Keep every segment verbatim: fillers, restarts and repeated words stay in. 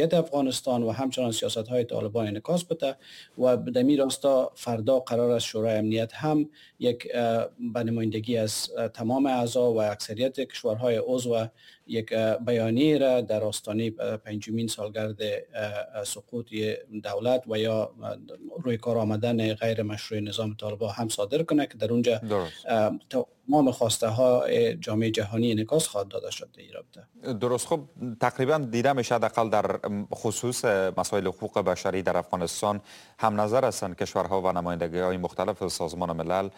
افغانستان و همچنان سیاست های طالبان انعکاس بده. و در این راستا فردا قرار است شورای امنیت هم یک به نمایندگی از تمام اعضا و اکثریت کشورهای عضو یک بیانیه را در آستانه پنجمین سالگرد سقوط دولت و یا روی کار آمدن غیر مشروع نظام طالبان هم صادر کنه که در اونجا تمام خواسته ها جامعه جهانی انعکاس خواهد داده شد در این رابطه. درست. خب تقریبا دیده میشه حداقل در خصوص مسائل حقوق بشری در افغانستان هم نظر هستند کشورها و نمایندگی های مختلف سازمان ملل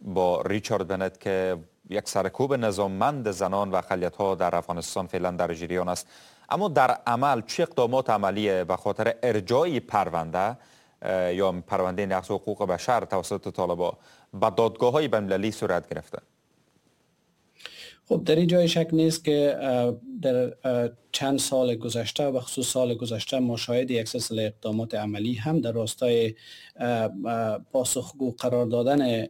با ریچارد بنت که یک سرکوب نظاممند زنان و اقلیت‌ها در افغانستان فعلا در جریان است. اما در عمل چه اقدامات عملی به خاطر ارجاع پرونده یا پرونده نقض حقوق بشر توسط طالبان به دادگاه‌های بین‌المللی صورت گرفته؟ خب در این جای شک نیست که در چند سال گذشته و خصوص سال گذشته ما شاهد یک سلسله اقدامات عملی هم در راستای پاسخگو قرار دادن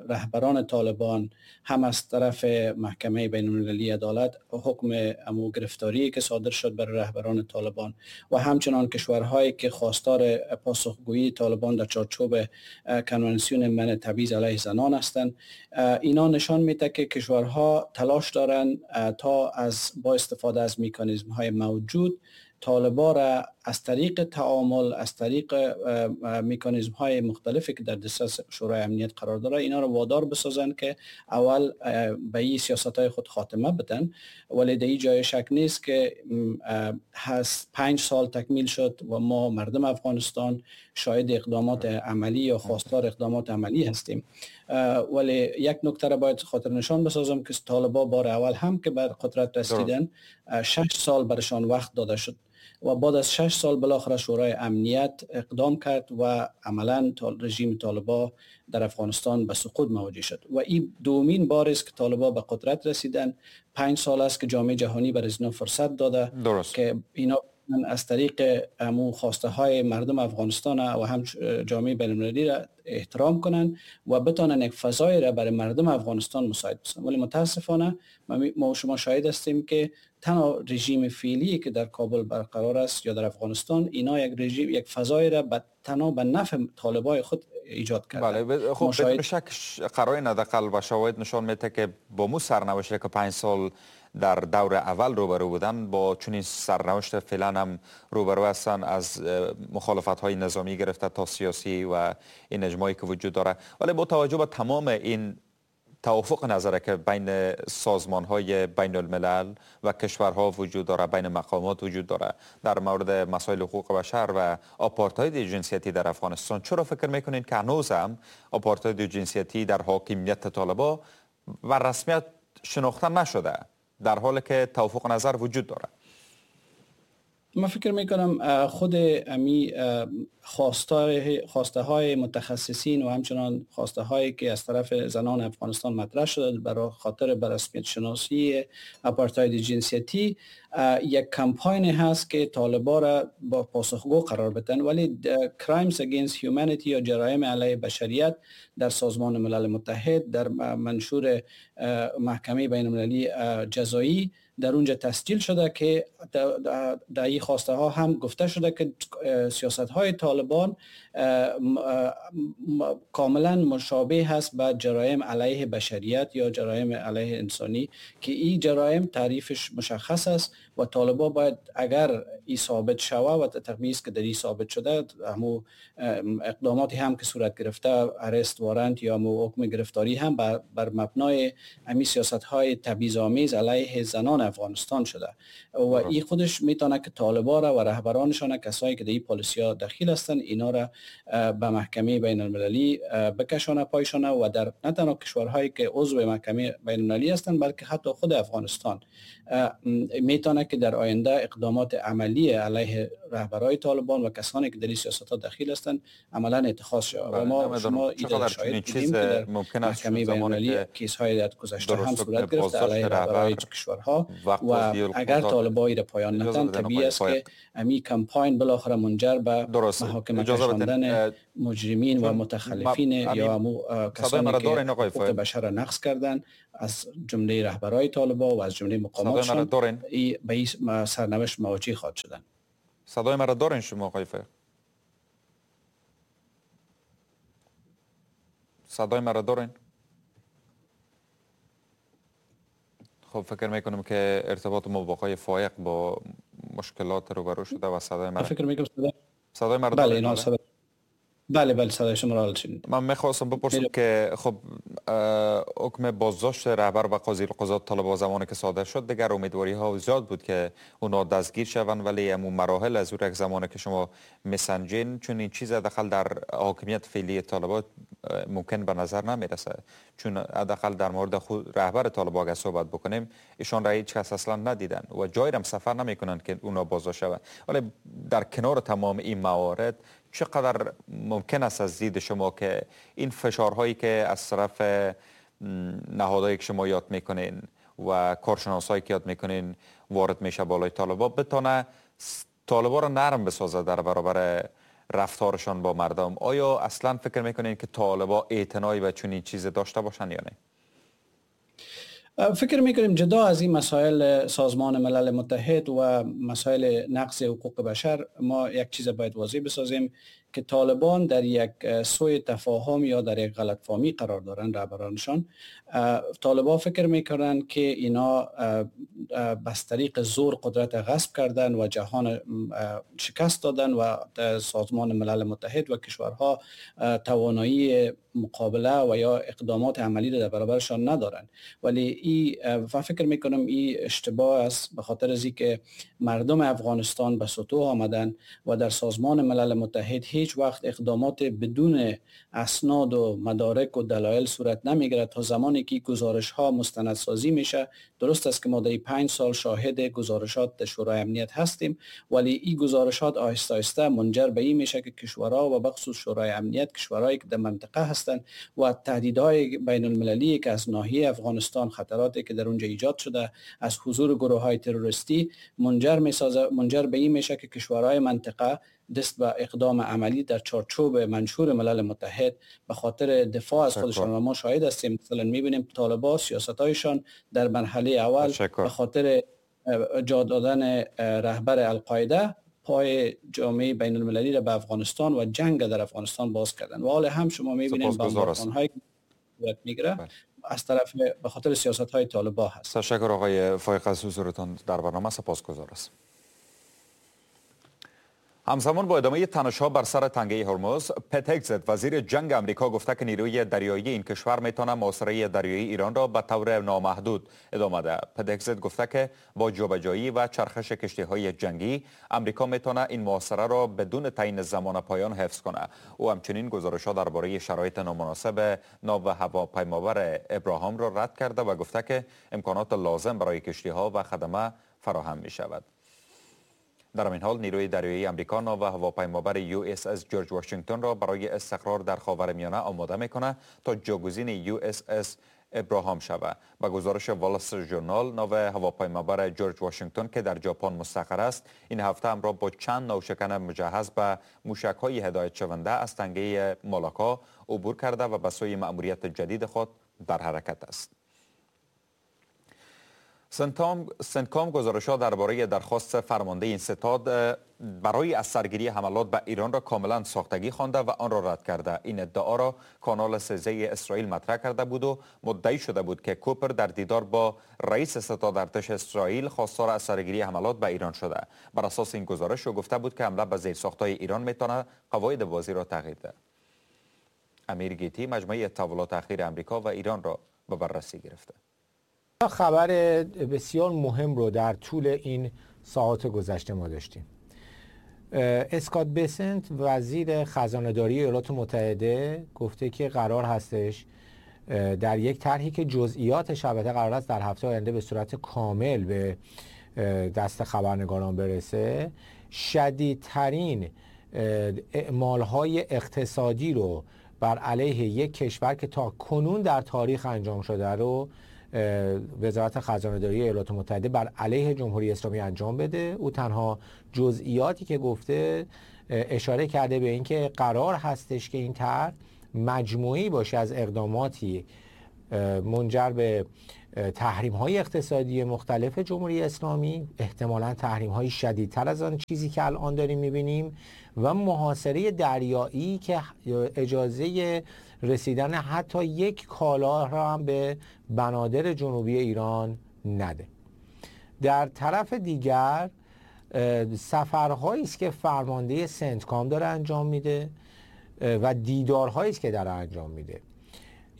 رهبران طالبان هم از طرف محکمه بین المللی عدالت، حکم امو گرفتاری که صادر شد برای رهبران طالبان و همچنان کشورهایی که خواستار پاسخگویی طالبان در چارچوب کنوانسیون منع تبعیض علیه زنان هستند، اینا نشان میده که کشورها تلاش دارند تا از با استفاده از مکانیزم های موجود طالبان را از طریق تعامل، از طریق مکانیزم های مختلفی که در دسترس شورای امنیت قرار داره اینا رو وادار بسازن که اول به این سیاست های خود خاتمه بدن. ولی در این جای شک نیست که هست پنج سال تکمیل شد و ما مردم افغانستان شاهد اقدامات عملی یا خواستار اقدامات عملی هستیم. ولی یک نکته را باید خاطر نشان بسازم که طالبان بار اول هم که بر قدرت رسیدن شش سال برشان وقت داده شد و بعد از شش سال بالاخره شورای امنیت اقدام کرد و عملاً رژیم طالبان در افغانستان به سقوط مواجه شد و این دومین بار است که طالبان به قدرت رسیدن. پنج سال است که جامعه جهانی بر اینا فرصت داده درست. که اینا از طریق امو خواسته های مردم افغانستان و هم جامعه بین المللی را احترام کنن و بتونن یک فضای را برای مردم افغانستان مساعد بسازن. ولی متاسفانه ما و شما شاهد هستیم که تنها رژیم فعلی که در کابل برقرار است یا در افغانستان، اینا یک رژیم، یک فضای را به تنها به نفع طالبای خود ایجاد کردن. بله خب بدون شک قرائن حداقل و شواهد نشان میده که با مو سرنوشت که پنج سال در دور اول روبرو بودن با چنین سرنوشت فعلا هم روبرو هستن، از مخالفت های نظامی گرفته تا سیاسی و این اجماعی که وجود داره. ولی با توجه به تمام این توافق نظره که بین سازمان های بین الملل و کشورها وجود داره، بین مقامات وجود داره در مورد مسائل حقوق بشر و آپارتاید جنسیتی در افغانستان، چرا فکر میکنین که هنوز هم آپارتاید جنسیتی در حاکمیت طالبان و رسمیت شناخته نشده در حالی که توافق نظر وجود داره؟ من فکر میکنم خود امی خواسته های متخصصین و همچنان خواسته هایی که از طرف زنان افغانستان مطرح شده برای خاطر برسمیت شناسی آپارتاید جنسیتی یک کمپاین هست که طالبان را با پاسخگو قرار بدن. ولی crimes against humanity یا جرایم علیه بشریت در سازمان ملل متحد در منشور محکمه بین المللی جزایی در اونجا تسجیل شده که در این خواسته ها هم گفته شده که سیاست های طالبان کاملا مشابه هست با جرایم علیه بشریت یا جرایم علیه انسانی که این جرایم تعریفش مشخص است و طالبان باید اگر این ثابت شوه و تقریبا که در این ثابت شده همو اقداماتی هم که صورت گرفته arrest warrant یا همو حکم گرفتاری هم بر, بر مبنای همین سیاست های تبعیض آمیز علیه زنان افغانستان شده و این خودش میتونه که طالبان را و رهبرانشان کسایی که در این پالیسی ها دخیل هستند اینا را به محکمه بین المللی بکشانه پایشانه و در نه تنها کشورهایی که عضو محکمه بین المللی هستند بلکه حتی خود افغانستان میتونه که در آینده اقدامات عملی علیه رهبرای طالبان و کسانی که در این سیاست‌ها دخیل هستند عملا اتخاذ شود. و ما شما ایده شاهد بودیم که در محکمه بین‌المللی case های در گذشته هم صورت گرفت علیه رهبرای کشورها و اگر طالبان را پایان ندن طبیعی است که امی کمپاین بالاخره منجر به محاکمه کشاندن مجرمین و متخلفین یا امو کسانی که حقوق بشر را نقض کردن از جمله رهبرای طالبان و از جمله مقاماتشان به این سرنوشت مواجه خواهد شدن. صدای مرا دارین شما آقای فایق؟ صدای مرا دارین؟ خب فکر میکنم که ارتباط ما با آقای فایق با مشکلات روبرو شده و صدای مرا فکر میکنم صدای صدای مرا بله اینا صدای بله بله صدای شما را شنیدم. من میخواستم بپرسم که خب حکم بازداشت رهبر و قاضی القضات طالبان زمانی که صادر شد دیگر امیدواری ها زیاد بود که اونا دستگیر شوند، ولی امون مراحل از اون یک زمانی که شما میسنجین چون این چیز حداقل در حاکمیت فعلی طالبان ممکن به نظر نمیرسه، چون حداقل در مورد خود رهبر طالبان اگه صحبت بکنیم ایشان را هیچ کس اصلا ندیدن و جایی هم سفر نمیکنن که اونا بازداشت شوند. ولی در کنار تمام این موارد چقدر ممکن است از دید شما که این فشارهایی که از طرف نهادهایی که شما یاد میکنین و کارشناسایی که یاد میکنین وارد میشه بالای طالبان بتونه طالبان را نرم بسازه در برابر رفتارشان با مردم؟ آیا اصلا فکر میکنین که طالبان اعتنایی به چنین چیز داشته باشن یا نه؟ فکر میکنیم جدا از این مسائل سازمان ملل متحد و مسائل نقض حقوق بشر ما یک چیز باید واضح بسازیم که طالبان در یک سوء تفاهم یا در یک غلط فهمی قرار دارن رهبرانشان. طالبان فکر میکنن که اینا بس طریق زور قدرت غصب کردن و جهان شکست دادن و سازمان ملل متحد و کشورها توانایی مقابله و یا اقدامات عملی را در برابرشان ندارن. ولی ای و فکر میکنم این اشتباه است، به خاطر از اینکه مردم افغانستان به سطوح آمدن و در سازمان ملل متحد هیچ وقت اقدامات بدون اسناد و مدارک و دلایل صورت نمیگیرد تا زمانی که گزارش ها مستندسازی میشه. درست است که ما در پنج سال شاهد گزارشات در شورای امنیت هستیم، ولی این گزارشات آهسته آهسته منجر به این میشه که کشورها و بخصوص شورای امنیت، کشورهایی که در منطقه هستند و تهدیدهای بین المللی که از ناحیه افغانستان، خطراتی که در اونجا ایجاد شده از حضور گروه های تروریستی، منجر میسازه منجر به این میشه که کشورهای منطقه دست به اقدام عملی در چارچوب منشور ملل متحد به خاطر دفاع از خودشان و ما شاهد هستیم. مثلا میبینیم طالبان سیاست‌هایشان در مرحله اول به خاطر جا دادن رهبر القاعده پای جامعه بین المللی را به افغانستان و جنگ در افغانستان باز کردن و حال هم شما میبینید بمباران‌هایی که صورت میگیره از طرف به خاطر سیاست‌های طالبان هست. تشکر آقای فایق از حضورتان در برنامه، سپاسگزار هستم. همزمان با ادامه تنش‌ها بر سر تنگه هرمز، پت هگزت وزیر جنگ امریکا گفته که نیروی دریایی این کشور میتونه محاصره دریایی ایران را به طور نامحدود ادامه دهد. پت هگزت گفته که با جابجایی و چرخش کشتی‌های جنگی امریکا میتونه این محاصره را بدون تعیین زمان پایان حفظ کنه. او همچنین گزارش‌ها درباره شرایط نامناسب ناو هواپیمابر ابراهام را رد کرده و گفته که امکانات لازم برای کشتی‌ها و خدمه فراهم می‌شود. در این حال نیروی دریایی امریکا ناو هواپیمابر یو اس اس جورج واشنگتن را برای استقرار در خاورمیانه آماده میکنه تا جاگزین یو اس اس ابراهام شود. با گزارش وال استریت ژورنال، ناو هواپیمابر جورج واشنگتن که در ژاپن مستقر است، این هفته همراه با چند ناوشکن مجهز به موشک‌های هدایت شونده از تنگه مالاکا عبور کرده و به سوی مأموریت جدید خود در حرکت است. سنتکام گزارش‌ها درباره درخواست فرمانده این ستاد برای از سرگیری حملات به ایران را کاملا ساختگی خوانده و آن را رد کرده. این ادعا را کانال سیزده اسرائیل مطرح کرده بود و مدعی شده بود که کوپر در دیدار با رئیس ستاد ارتش اسرائیل خواستار از سرگیری حملات به ایران شده. بر اساس این گزارش او گفته بود که حمله به زیرساخت‌های ایران میتونه قواعد بازی را تغییر دهد. امیر گیتی مجموعه تحولات اخیر امریکا و ایران را به بررسی گرفته. خبر بسیار مهم رو در طول این ساعات گذشته ما داشتیم. اسکات بسنت وزیر خزانه‌داری ایالات متحده گفته که قرار هستش در یک طرحی که جزئیاتش البته قرار است در هفته آینده به صورت کامل به دست خبرنگاران برسه، شدیدترین اعمالهای اقتصادی رو بر علیه یک کشور که تا کنون در تاریخ انجام شده رو وزارت خزانه‌داری ایالات متحده بر علیه جمهوری اسلامی انجام بده. او تنها جزئیاتی که گفته اشاره کرده به اینکه قرار هستش که این طرح مجموعی باشه از اقداماتی منجر به تحریم‌های اقتصادی مختلف جمهوری اسلامی، احتمالاً تحریم‌های شدیدتر از آن چیزی که الان داریم می‌بینیم، و محاصره دریایی که اجازه رسیدن حتی یک کالا را هم به بنادر جنوبی ایران نده. در طرف دیگر سفرهایی است که فرمانده سنتکام داره انجام میده و دیدارهایی است که داره انجام میده.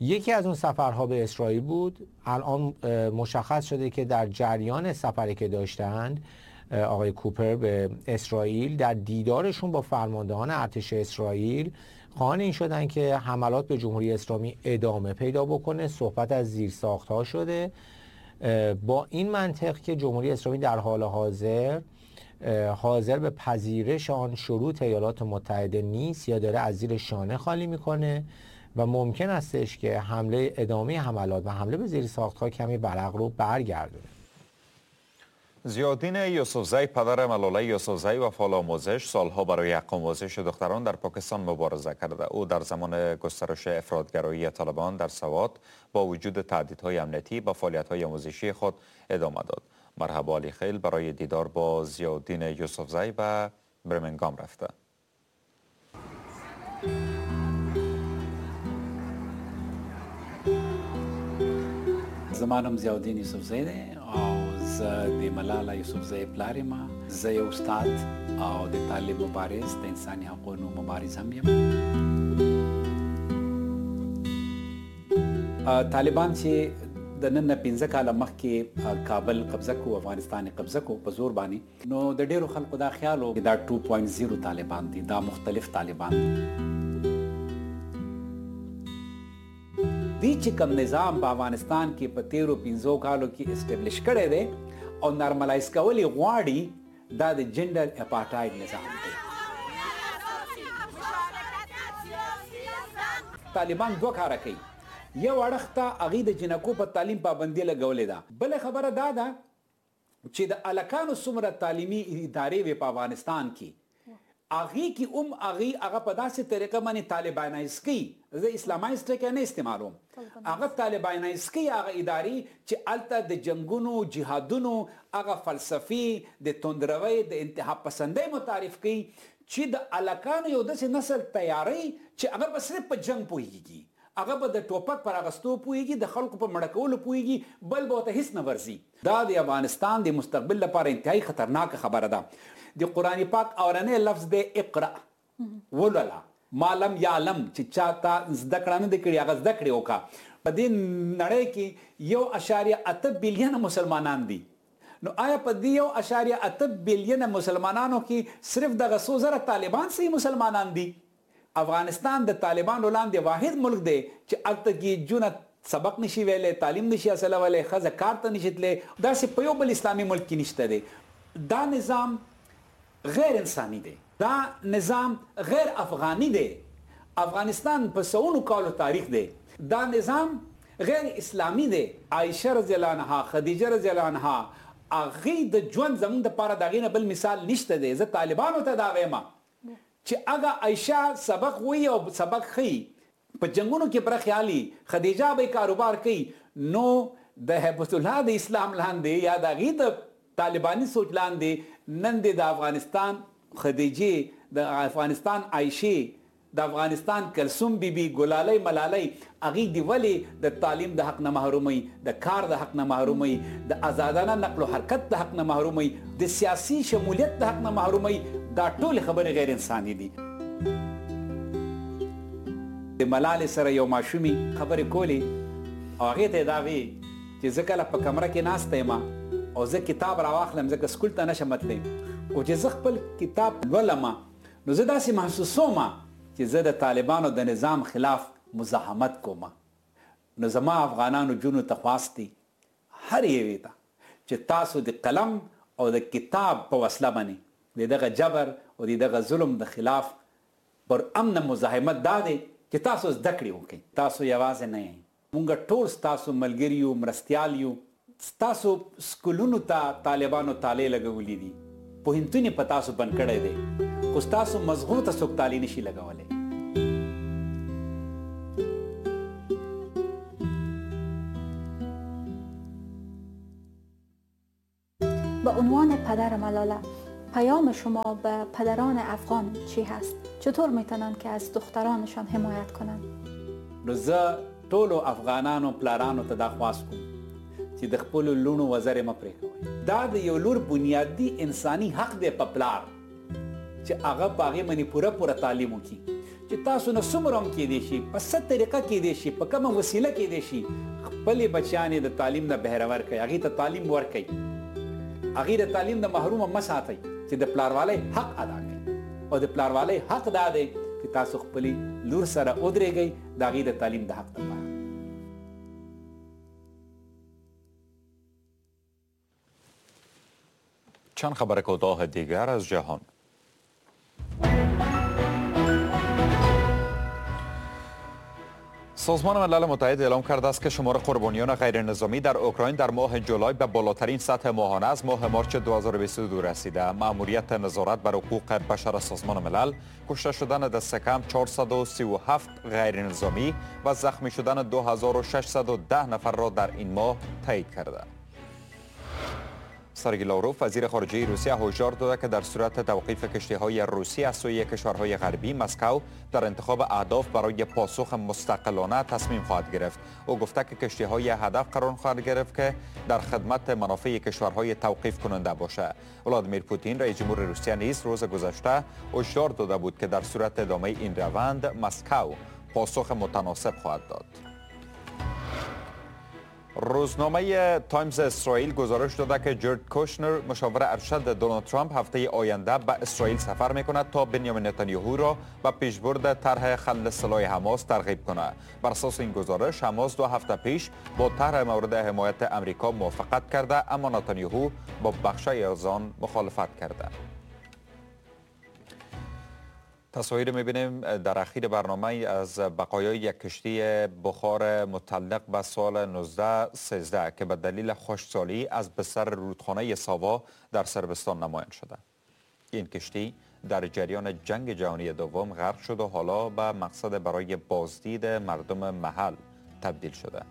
یکی از اون سفرها به اسرائیل بود. الان مشخص شده که در جریان سفری که داشتند آقای کوپر به اسرائیل، در دیدارشون با فرماندهان ارتش اسرائیل خواهان این شدن که حملات به جمهوری اسلامی ادامه پیدا بکنه. صحبت از زیرساخت‌ها شده با این منطق که جمهوری اسلامی در حال حاضر حاضر به پذیرش آن شروط ایالات متحده نیست یا داره از زیر شانه خالی میکنه و ممکن استش که حمله ادامه حملات و حمله به زیر ساخت‌ها کمی ورق رو برگردونه. ضیاءالدین یوسفزئی، پدر ملاله یوسفزئی و فعال آموزش، سالها برای حق آموزش دختران در پاکستان مبارزه کرده. او در زمان گسترش افراط‌گرایی طالبان در سوات با وجود تهدیدهای امنیتی با فعالیت‌های آموزشی خود ادامه داد. مرحبا علی خیل برای دیدار با ضیاءالدین یوسفزئی به برمنگام رفته. زما نوم ضیاءالدین یوسفزی دی او زه د ملاله یوسفزۍ پلار یم. زه یو استاد او د طالب مبارز، د انساني حقونو مبارز هم یم. طالبان چې د نن نه پنځه کاله مخکې کابل قبضه کو، افغانستان قبضه کو په زور باندې، نو د ډیرو خلکو دا خیال و دا دوه نقطه صفر طالبان دي، دا مختلف طالبان دي. دی چې کوم نظام په افغانستان کې په تیرو پنځو کالو کې establish کړی دی او normalize کول یې غواړي، دا د gender apartheid نظام دی. طالبان دوه کاره کوي، یو اړخ ته هغوی د جینکو په تعلیم پابندي لګولې ده، بله خبره دا ده چې د هلکانو څومره تعلیمي ادارې وې په افغانستان کې، هغې کې هم هغې هغه په داسې طریقه باندې طالبانایز کوي. زه اسلامایز ټکی نه استعمالوم، هغه طالبانایز کوي هغه ادارې چې هلته د جنګونو، جهادونو هغه فلسفې، د تندروۍ، د انتها پسندۍ متعارف کوي چې د هلکانو یو داسې نسل تیاروي چې هغه به صرف په جنګ پوهېږي، هغه به د ټوپک پر اغستو پوهېږي، د خلکو په مړه کولو پوهېږي، بل به ورته هېڅ نه ورځي. دا د افغانستان د مستقبل لپاره انتهایي خطرناکه خبره ده. د قرآن پاک اورنی لفظ دی اقرأ، ولوله، ما لم یعلم، چې چا ته زده کړه نه دی کړې هغه زده کړې وکړه. په دې نړۍ کې یو اشاریه اته بیلیونه مسلمانان دي، نو آیا په دې یو اشاریه اته بیلیونه مسلمانانو کې صرف دغه څو زره طالبان صحیح مسلمانان دي؟ افغانستان د طالبانو لاندې واحد ملک دی چې هلته کې جونه سبق نشي ویلی، تعلیم نشي حاصلولی، ښځه کار ته نشي تللی، داسې په یو بل اسلامي ملک کې نشته دی. دا نظام غیر انساني دی، دا نظام غیر افغاني دی. افغانستان په سوونو کالو تاریخ دی، دا نظام غیر اسلامي دی. عایشه رضی الله عنها، خدیجه رضی الله عنها، هغې د ژوند زموږ دپاره د هغې نه بل مثال نشته دی. زه طالبانو ته دا وایم چې هغه عایشه سبق وایي او سبق ښیي، په جنګونو کې برخه اخلي، خدیجه به کاروبار کوي، نو د هیبت الله د اسلام لاندې یا د هغې د طالباني سوچ لاندې نن دې د افغانستان خدیجې، د افغانستان عایشې، د افغانستان کلثوم بیبي، ګلالۍ، ملالۍ، هغې دې ولې د تعلیم د حق نه محروموي، د کار د حق نه محروموي، د ازادانه نقل و حرکت د حق نه محروموي، د سیاسي شمولیت د حق نه محروموي؟ دا ټولې خبرې غیر انساني دي. د ملالې سره یو ماشومې خبرې کولې او هغې ته یې دا ویې چې زه کله په کمره کې ناسته یم او زه کتاب راواخلم، ځکه سکول ته نشم تللی، او چې زه خپل کتاب لولم نو زه داسې محسوسوم چې زه د طالبانو د نظام خلاف مزاحمت کوم. نو زما افغانانو جونو ته خواست دی هر یوې ته چې تاسو د قلم او د کتاب په وسله باندې د دغه جبر او د دغه ظلم د خلاف پر امن مزاحمت دا دی چې تاسو زده کړې وکړئ. تاسو یوازې نه یئ، مونږ ټول ستاسو ملګري یو، مرستیال یو. ستاسو سکولونو ته طالبانو تالې لګولې دي، پوهنتون یې په تاسو بند کړی دی، خو ستاسو مزغو ته څوک تالې نشي لګولی. به عنوان پدر ملاله، پیام شما به پدران افغان چی هست؟ چطور میتونن که از دخترانشان حمایت کنند؟ نو زه ټولو افغانانو پلارانو ته دا خواست کوم چې د خپلو لوڼو وزرې مه پرې کوئ. دا د یو لور بنیادي انساني حق دی په پلار چې هغه په هغې باندې پوره پوره تعلیم وکړي، چې تاسو نه څومره هم کېدی شي، په څه طریقه کېدی شي، په کومه وسیله کېدی شي، خپلې بچیانې د تعلیم نه بهره ورکړئ، هغې ته تعلیم ورکړئ، هغې د تعلیم نه محرومه مه ساتئ، چې د پلاروالۍ حق ادا کړئ. او د پلاروالۍ حق دا دی چې تاسو خپلې لور سره ودرېږئ د هغې د تعلیم د حق لپاره. چند خبر کوتاه دیگر از جهان. سازمان ملل متحد اعلام کرده است که شمار قربانیان غیر نظامی در اوکراین در ماه جولای به بالاترین سطح ماهانه از ماه مارچ دو هزار و بیست و دو رسیده. مأموریت نظارت بر حقوق بشر سازمان ملل کشته شدن دست کم چهارصد و سی و هفت غیر نظامی و زخمی شدن دو هزار و ششصد و ده نفر را در این ماه تایید کرده. سرگی لاوروف وزیر خارجه روسیه هشدار داده که در صورت توقیف کشتی‌های روسی از سوی کشورهای غربی، مسکو در انتخاب اهداف برای پاسخ مستقلانه تصمیم خواهد گرفت. او گفته که کشتی‌های هدف قرار خواهد گرفت که در خدمت منافع کشورهای توقیف کننده باشد. ولادیمیر پوتین رئیس جمهور روسیه نیز روز گذشته هشدار داده بود که در صورت ادامه این روند مسکو پاسخ متناسب خواهد داد. روزنامه تایمز اسرائیل گزارش داده که جرد کوشنر مشاور ارشد دونالد ترامپ هفته آینده به اسرائیل سفر میکند تا بنیامین نتانیاهو را به پیشبرد طرح خلع سلاح حماس ترغیب کند. بر اساس این گزارش حماس دو هفته پیش با طرح مورد حمایت امریکا موافقت کرده، اما نتانیاهو با بخشی از آن مخالفت کرده. تصاویر می‌بینیم در اخیر برنامه از بقایای یک کشتی بخار متعلق به سال نوزده سیزده که به دلیل خشکسالی از بستر رودخانه ساوا در صربستان نمایان شده. این کشتی در جریان جنگ جهانی دوم غرق شد و حالا به مقصد برای بازدید مردم محل تبدیل شده.